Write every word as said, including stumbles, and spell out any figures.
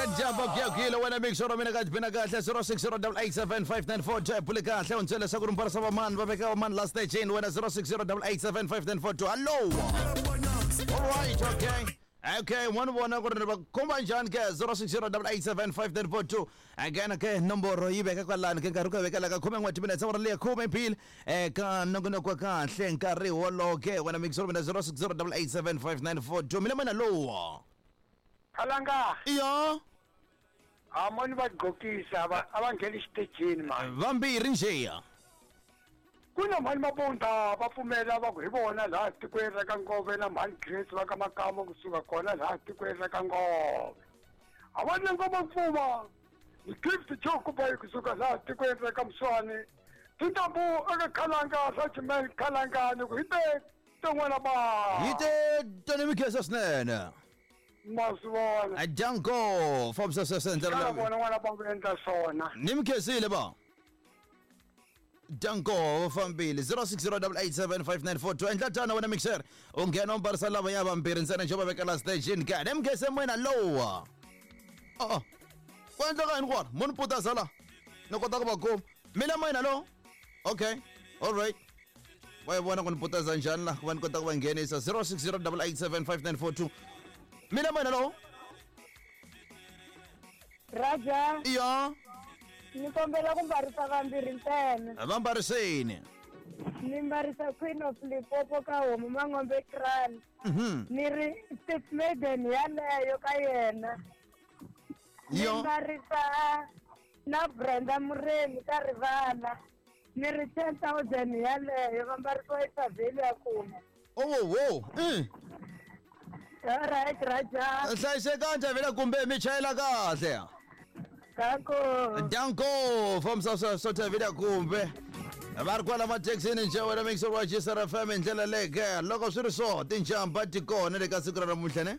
Kahle jamba kuyakuyile wena mixoro mina ka bina kahle zero six zero double eight seven five nine four two bule kahle u ntswele leswaku ri mbarisa vamani va veka vamani la stageni wena zero six zero double eight seven five nine four two. Hallo. All right, okay. Okay, one vona ku ri va khumba njhani ke zero six zero double eight seven five nine four two. Again ke nomboro yi veka kwalani ke nkarhi ku veka la ka khume n'we timinetse awara leya khume mbili eka nongonoko wa kahle nkarhi wolowo ke wena mixoro mina zero six zero double eight seven five nine four two. Mina mina lowa. Khalanga. Iya. A moni va gqokisa va a va ngheni xitejini mani. Vambirhi njeya. Ku na mhani Mabunda va pfumela va ku hi vona laha tikweni ra ka Ngove na mhani Grace va ka Makamo kusuka kona laha tikweni ra ka Ngove. A va na ngoma pfuma. Ni Gift Jokuba kusuka laha tikweni ra ka Mswani. Tintambu eka Khalanga Rajman Khalanga ni ku hi te tin'wana ba. Hi te tani mikhesa swinene. Maswona. Ajanko fambisa sweswo ndlela leyi. Vona n'wana ba ku endla swona. Ni mikhesile ba. Danko fambile zero six zero double eight seven five nine four two. Endla tano wena mixer u nghena u mbarisa lava ya vambirhi ntsena nje va veka la stageni ka ne mkhese mwena lowa. Oh, ku endleka yini kona munhu putaza la ni kota ku va kuma mina mwena lo. Okay, all right, va yi vona ku ni putaza njhani la ku va ni kota ku va nghenisa zero six zero double eight seven five nine four two. Mina mwena lo. Raja. Iya. Ni kombela ku mbarisa vambirhi ntsena. Va mbariseni. Ni mbarisa Queen of Limpopo ka homu Mangombe Kran. Mhm. Ni ri Steve Maiden yaleyo ka yena. Ni mbarisa na Brenda Muremi ka Rivala. Ni ri ten thousand yaleyo va mbarisiwa eThavheli ya Kumbe. Oh, wo. Mm. All right, Raja. Hlayisekani Thavheli kumbe mi chayela kahle. Danko. Danko fambisa sweswo Thavheli kumbe. Va ri kwala mathekisini nje wena mixer wa G S R F M hi ndlela leyi ke loko swi ri so tinjamba ti kona le ka siku ra namuntlha ne.